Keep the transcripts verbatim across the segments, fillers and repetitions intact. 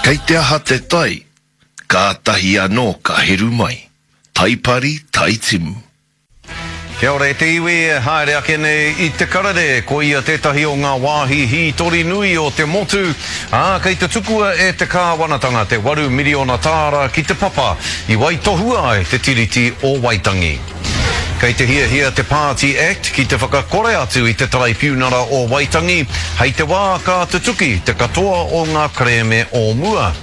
Kei te aha te tai, kātahi anō ka heru mai. Taipari, taitimu. Kia ora e te iwi e haere ake nei i Te Karere, ko ia tētahi o ngā wāhi hītori nui o te motu, ā, kei te tukua e te kāwanatanga te waru miriona tāra ki te papa i waitohua ai te Tiriti o Waitangi. Kei te hiahia te Pāti Act ki te whakakore atu i te Taraipiunara o Waitangi hei te wā ka tutuki te katoa o ngā kerēme o mua.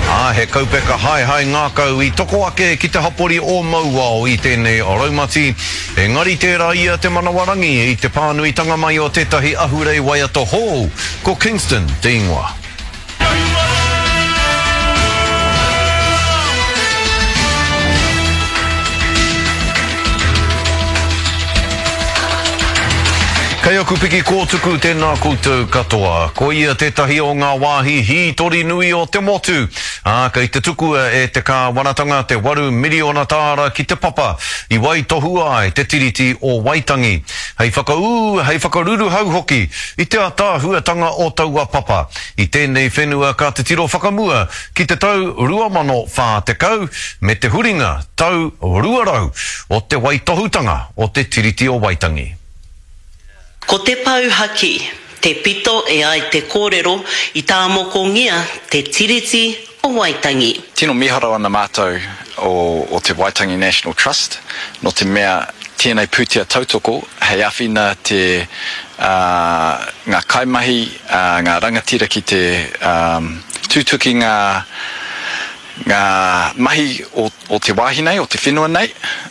Ā, he kaupeka haehae ngākau i toko ake ki te hapori o Mauao i tēnei raumati, engari tērā ia te manawarangi i te pānuitanga mai o tētahi ahurei waiata hou, ko Kingston te ingoa. Kei aku piki kōtuku tēnā koutou katoa. Ko ia tētahi o ngā wāhi hītori nui o te motu. Ā, kei te tukua e te kāwanatanga te waru miriona tāra ki te papa i waitohua ai te Tiriti o Waitangi. Hei whakaū, hei whakaruruhau hoki i te ataahuatanga o taua papa. I tēnei whenua ka titiro whakamua ki te tau rua mano whā tekau me te huringa tau rua rau o te waitohutanga o te Tiriti o Waitangi. Ko te pou haki, te pito e ai te kōrero i tāmokongia te Tiriti o Waitangi. Tino miharo ana mātou o, o te Waitangi National Trust, nō te mea tēnei pūtea tautoko hei āwhina te, uh, ngā kaimahi, uh, ngā rangatira ki te um, tutuki ngā, ngā mahi o, o te wāhi nei, o te whenua nei.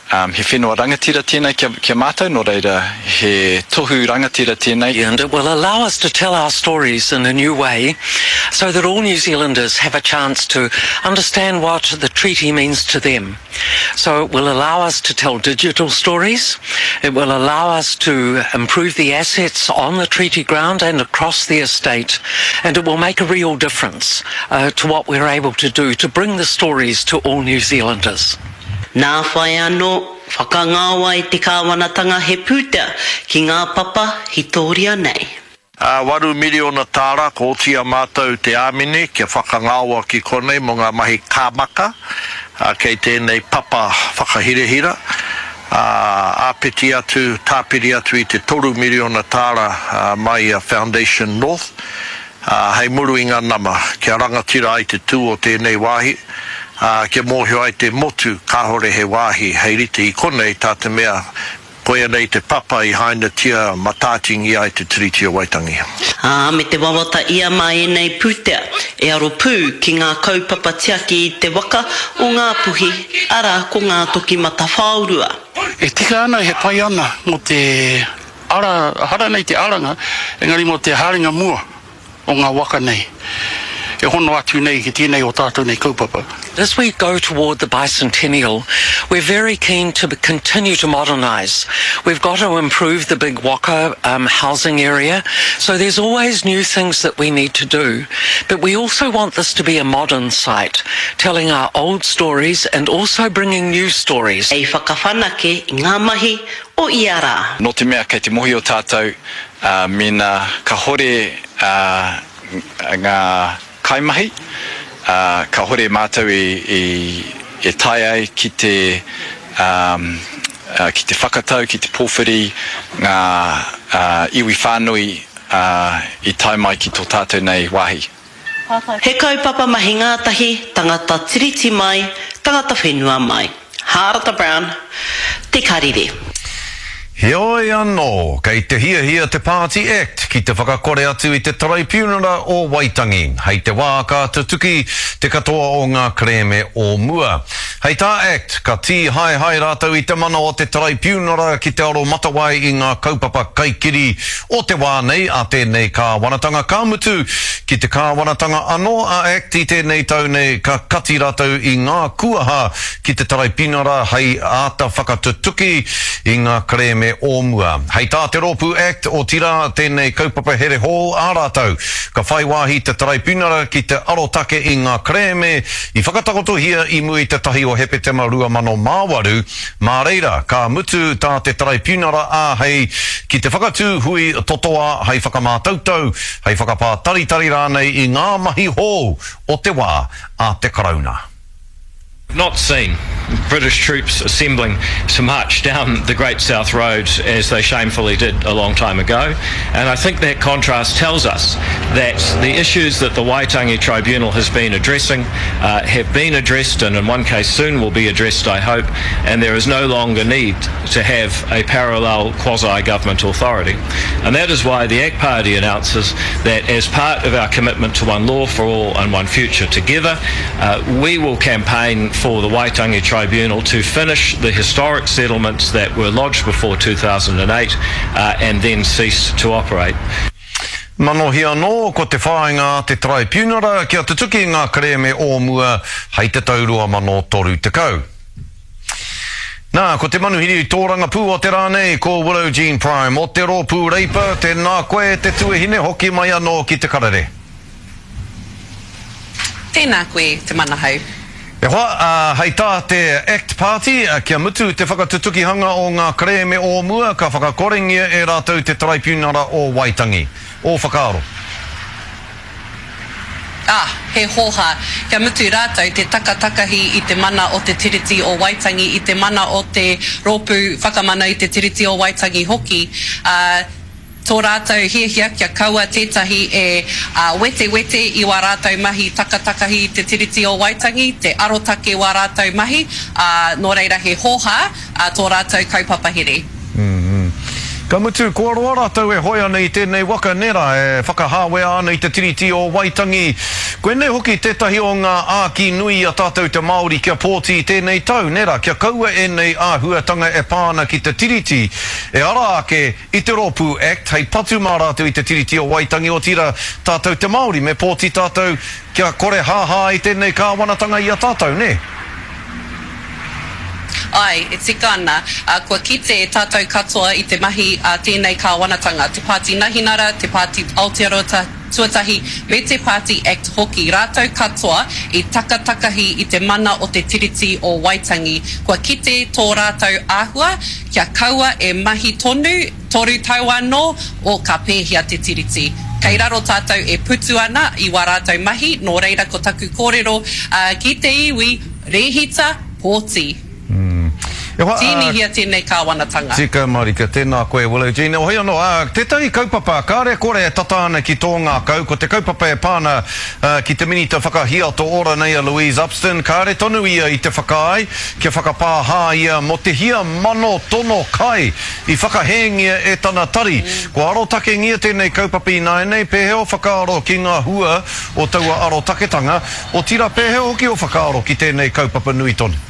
Um, he whenua rangatira tēnei kia, kia mātou, nō reira he tohu rangatira tēnei. And it will allow us to tell our stories in a new way so that all New Zealanders have a chance to understand what the treaty means to them. So it will allow us to tell digital stories. It will allow us to improve the assets on the treaty ground and across the estate. And it will make a real difference, uh, to what we're able to do to bring the stories to all New Zealanders. Nā whai anō, whakangāwai te kāwanatanga he pūtea ki ngā papa hitoria nei. Uh, waru miriona tāra, ko oti a mātou te āmine kia whakangāwa ki konei mō ngā mahi kāmaka, uh, kei tēnei papa whakahirahira. Uh, āpiti atu, tāpiri atu i te toru miriona tāra, uh, mai a Foundation North, uh, hei muru i ngā nama, kia rangatira ai te tū o tēnei wāhi, uh, kia mōhio ai te motu kāhore he wāhi hei rite i konei tā te mea koia nei te papa i hainatia matātingi ai te Tiriti o Waitangi. Ā, me te wawata ia mā ēnei pūtea e aro pū ki ngā kaupapa tiaki i te waka o Ngāpuhi, arā ko Ngā Toki Matawhaorua. E tika ana, he pai ana mō te ara, hara nei te aranga, engari mō te haerenga mua o ngā waka nei. E hono atu nei ki tēnei o tātou nei kaupapa. As we go toward the bicentennial, we're very keen to continue to modernise. We've got to improve the big waka, um, housing area, so there's always new things that we need to do. But we also want this to be a modern site, telling our old stories and also bringing new stories. Ei whakawhanake i ngā mahi o ia rā. Nō te mea kei te mohi o tātou, uh, mēnā ka hore, uh, ngā kaimahi, uh, ka hore mātou i, i, e tae ai ki te, um, uh, ki te whakatau, ki te pōwhiri ngā, uh, iwi whānui, uh, i tae mai ki tō tātou nei wāhi. He kaupapa mahi ngātahi, tangata tiriti mai, tangata whenua mai. Hārata Brown, Te Karere. Heoi anō, kei te hiahia te Pāti Act ki te whakakore atu i te Taraipiunara o Waitangi. Hei te wā ka tutuki te katoa o ngā kerēme o mua. Hei tā Act, ka tīhaehae rātou i te mana o te Taraipiunara ki te aro matawai i ngā kaupapa kaikiri o te wā nei a tēnei kāwanatanga. Ka mutu ki te kāwanatanga anō a Act i tēnei tau nei ka kati rātou i ngā kuaha ki te Taraipiunara hei āta whakatutuki i ngā kerēme kerēme o mua. Hei tā te rōpū Act, otirā tēnei kaupapa here hou a rātou, ka whai wāhi te Taraipiunara ki te arotake i ngā kerēme i whakatakotohia i mua i te tahi o Hepetema rua mano mā waru, mā reira ka mutu tā te Taraipiunara āhei ki te whakatū hui totoa hei whakamātautau, hei whakapātaritari rānei i ngā mahi hou o te wā a te Karauna. Not seen British troops assembling to march down the Great South Road as they shamefully did a long time ago. And I think that contrast tells us that the issues that the Waitangi Tribunal has been addressing uh, have been addressed, and in one case soon will be addressed, I hope, and there is no longer need to have a parallel quasi-government authority. And that is why the ACT Party announces that as part of our commitment to one law for all and one future together, uh, we will campaign for the Waitangi Tribunal to finish the historic settlements that were lodged before two thousand eight uh, and then cease to operate. Manohi anō, ko te whāinga a te Traipiunara kia tutuki ngā kerēme o mua hei te tau rua mano toru tekau. Nā, ko te manuhiri tōrangapū o te rā nei, ko Willow Jean Prime o te rōpū Reipa, tēnā koe te tuahine hoki mai anō ki te karere. Tēnā koe te manahau. E hoa, uh, hei tā te Act Party, uh, kia mutu te whakatutukihanga o ngā kerēme o mua, ka whakakorengia e rātou te Taraipiunara o Waitangi. O whakaaro. Ah, he hoha. Kia mutu rātou te takatakahi i te mana o te Tiriti o Waitangi, i te mana o te rōpū whakamana i te Tiriti o Waitangi hoki. Uh, tō rātou hiahia kia kaua tētahi e uh, wete-wete i wā rātou mahi takatakahi i te Tiriti o Waitangi, te arotake wā rātou mahi, uh, nō reira he hoha uh, tō rātou kaupapa here. Mm-hmm. Ka mutu, kua roa rātou e hoi ana i tēnei waka nera e whakahāwea ana i te Tiriti o Waitangi. Koinei hoki tētahi o ngā āki nui a tātou te Māori kia pōti i tēnei tau, nera, kia kaua ēnei āhuatanga e pā ana ki te Tiriti. E ara ake i te rōpū Act hei patu mā rātou i te Tiriti o Waitangi, otirā tātou te Māori me pōti tātou kia kore hāhā i tēnei kāwanatanga i a tātou, ne? Ai, e tika ana, uh, kua kite tātou katoa i te mahi a uh, tēnei kāwanatanga, te Pāti Nahinara, te Pāti Aotearoa Tuatahi, me te Pāti Act hoki. Rātou katoa i takatakahi i te mana o te Tiriti o Waitangi. Kua kite tō rātou āhua, kia kaua e mahi tonu, toru tau anō, o ka pēhia te Tiriti. Kei raro tātou e putu ana i wā rātou mahi, nō reira ko taku kōrero uh, ki te iwi, rehita, pōti. Mm. Tīnihia tēnei kāwanatanga. Tika marika, tēnā koe Willow Jean. Hoi anō, uh, tētahi kaupapa, kāre kore e tata ana ki tō ngākau, ko te kaupapa e pāna uh, ki te minita whakahiato ora nei a Louise Upston, kāre tonu ia i te whakaae, kia whakapāhā ia mō te hia mano tono kai i whakahēngia e tana tari. Mm. Ko arotakengia tēnei kaupapa ināianei, pēhea o whakaaro ki ngā hua o taua arotaketanga, otirā pēhea hoki o whakaaro ki tēnei kaupapa nui tonu?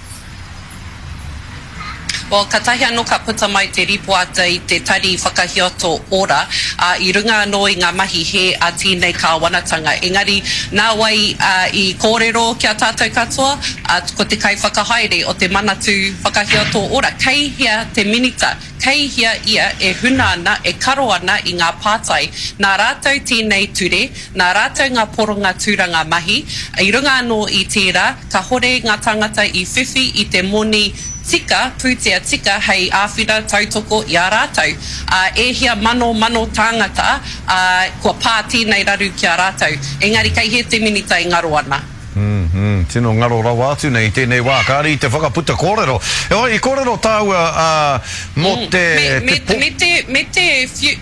Well, ka tahi anō ka puta mai te ripoata i te tari whakahiato ora, uh, i runga anō i ngā mahi he a tēnei kāwanatanga. Engari, nā wai uh, i kōrero kia tātou katoa, uh, ko te kai whakahaere o te Manatū Whakahiato Ora. Kei hea te minita, kei hea ia e huna ana, e karo ana i ngā pātai. Nā rātou tēnei ture, nā rātou ngā poronga tūranga mahi, i runga anō i tērā, ka hore ngā tangata i whiwhi i te moni tika, pūtea tika hei āwhina tautoko i a rātou. Uh, e hia mano mano tāngata, uh, kua pā tēnei raru ki a rātou. Engari kei hea te minita i ngaro ana. Mm -hmm. Tino ngaro rawa atu nei tēnei wā, kāre i te whakaputa kōrero. E oi, i kōrero tāua uh, mō mm. te... Me, me, te, me te, me te whiu,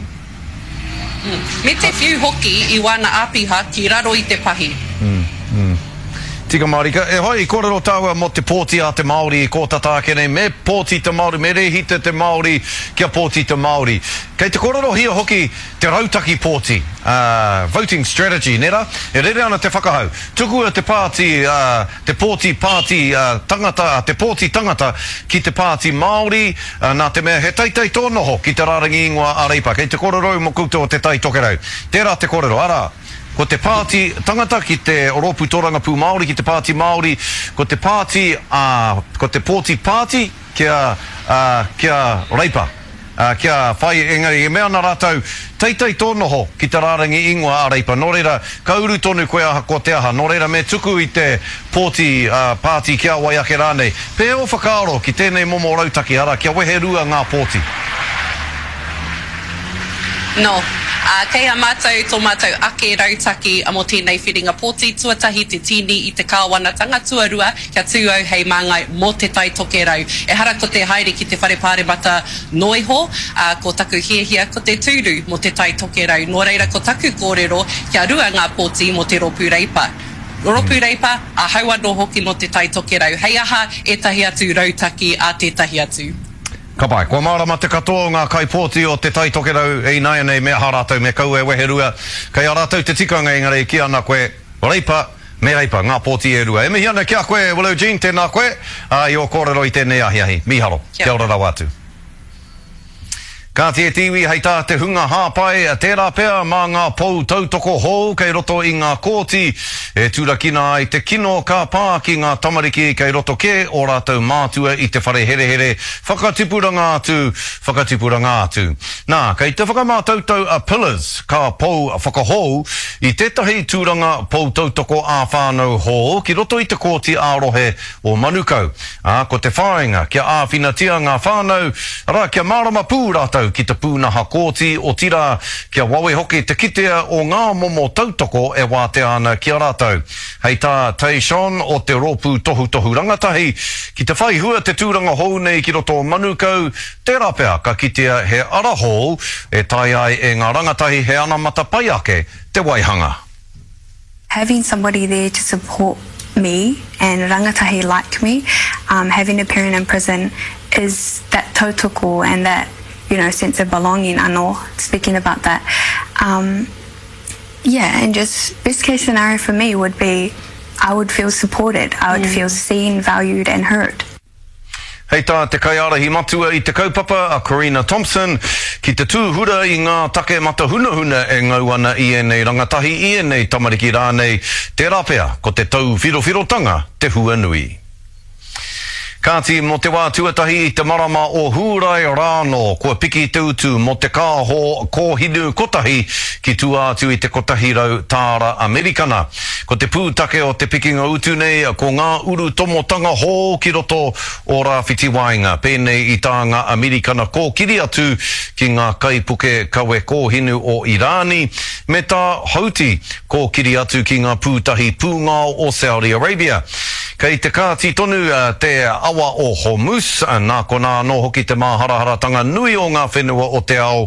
mm. me te whiu hoki i wāna āpiha ki raro i te pahi. Mm. Mm. Tika marika, e hoi, i kōrero tāua mō te pōti a te Māori i kōtata ake nei, me pōti te Māori, me rehita te Māori, kia pōti te Māori. Kei te kōrerohia hoki te rautaki pōti, uh, voting strategy, nera? E rere ana te whakahau. Tukua te pāti, uh, te pōti pāti uh, tangata, te pōti tangata ki te pāti Māori, uh, nā te mea he teitei tō noho ki te rārangi ingoa a Reipa. Kei te kōrero mō koutou o te Tai Tokerau. Tērā te kōrero, arā. Ko te pāti tangata ki te rōpū tōrangapū Māori, ki te pāti Māori, ko te pāti, uh, ko te pōti pāti kia, uh, kia Reipa. kia whai, engari e mea ana rātou, teitei tō noho ki te rārangi ingoa a Reipa. Nō reira, ka uru tonu koe ahakoa te aha. Nō reira, me tuku i te pōti pāti ki a wai ake rānei. Pēhea ō whakaaro ki tēnei momo rautaki, arā, kia wehe rua ngā pōti? Nō. Ā, kei a mātou tō mātou ake rautaki mō tēnei whiringa pōti, tuatahi te tīni i te kāwanatanga, tuarua kia tū au hei māngai mō Te Tai Tokerau. Ehara ko te haere ki te Whare Pāremata noa iho, ā, ko taku hiahia ko te tūru mō Te Tai Tokerau. Nō reira ko taku kōrero kia rua ngā pōti mō te Rōpū Reipa. Rōpū Reipa, ahau anō hoki nō Te Tai Tokerau. Hei aha ētahi atu rautaki a tētahi atu? Ka pai. Kua mārama te katoa o ngā kaipōti o Te Tai Tokerau ināianei me aha rātou, me kaua e weherua. Kei a rātou te tikanga engari e kī ana koe, Reipa, me Reipa, ngā pōti e rua. E mihi ana ki a koe, Willow Jean, tēnā koe, ā, i ō kōrero i tēnei ahiahi. Mīharo. Kia ora rawa atu. Kāti e te iwi, hei tā te hunga hāpai, tērā pea mā ngā pou tautoko hou kei roto i ngā kōti e turakina ai te kino ka pā ki ngā tamariki kei roto kē ō rātou mātua i te whare herehere whakatipuranga atu, whakatipuranga atu. Nā, kei te whakamātautau a Pillars, ka pou whakahou i tētahi tūranga pou tautoko ā-whānau hou ki roto i te kōti ā-rohe o Manukau, ā, ko te whāinga kia āwhinatia ngā whānau, arā, kia mārama pū rātou ki te pūnaha kōti, otirā, kia wawe hoki te kitea o ngā momo tautoko e wātea ana ki a rātou. Hei tā Tayshaun o te Rōpū Tohutohu Rangatahi, ki te whai hua te tūranga hou nei ki roto o Manukau, tērā pea ka kitea he ara hou e taea ai e ngā rangatahi he anamata pai ake te waihanga. Having somebody there to support me and rangatahi like me, um, having a parent in prison is that tautoko and that, you know, sense of belonging anō, speaking about that. Um, yeah, and just best case scenario for me would be I would feel supported, I would mm. feel seen, valued and heard. Hei tā te kaiārahi matua i te kaupapa, a Corina Thompson, ki te tūhura i ngā take matahunahuna e ngau ana i ēnei rangatahi, i ēnei tamariki rānei, tērā pea ko te tauwhirowhirotanga te hua nui. Kāti, mō te wā tuatahi i te marama o Hūrae rānō, kua piki te utu mō te kāho kōhinu kotahi ki tua atu i te kotahi rau tāra Amerikana. Ko te pūtake o te pikinga utu nei ko ngā urutomotanga hou ki roto o Rāwhiti Waenga, pēnei i tā ngā Amerikana kōkiri atu ki ngā kaipuke kawe kōhinu o Irāni, me tā Houthi kōkiri atu ki ngā pūtahi pūngao o Saudi Arabia. Kei te kāti tonu te awa o Hormuz, nā konā anō hoki te māharaharatanga nui o ngā whenua o te ao,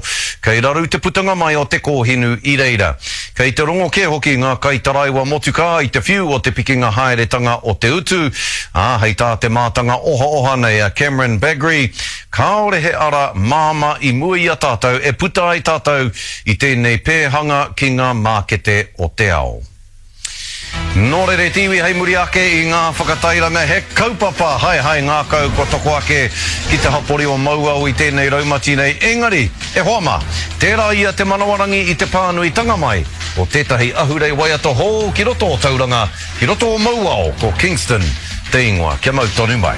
kei raru te putanga mai o te kōhinu i reira. Kei te rongo kē hoki ngā kaitaraiwa motukā i te whiu o te pikinga haeretanga o te utu, ā, hei tā te mātanga ohaoha nei a Cameron Bagrie, kāore he ara māmā i mua i a tātou e puta ai tātou i tēnei pēhanga ki ngā mākete o te ao. Nō reira te iwi hei muri ake i ngā whakatairanga he kaupapa haehae ngākau kua toko ake ki te hapori o Mauao i tēnei raumati nei. Engari, e hoa mā, tērā ia te manawarangi i te pānuitanga mai o tētahi ahurei waiata hou ki roto o Tauranga, ki roto o Mauao, ko Kingston te ingoa. Kia mau tonu mai.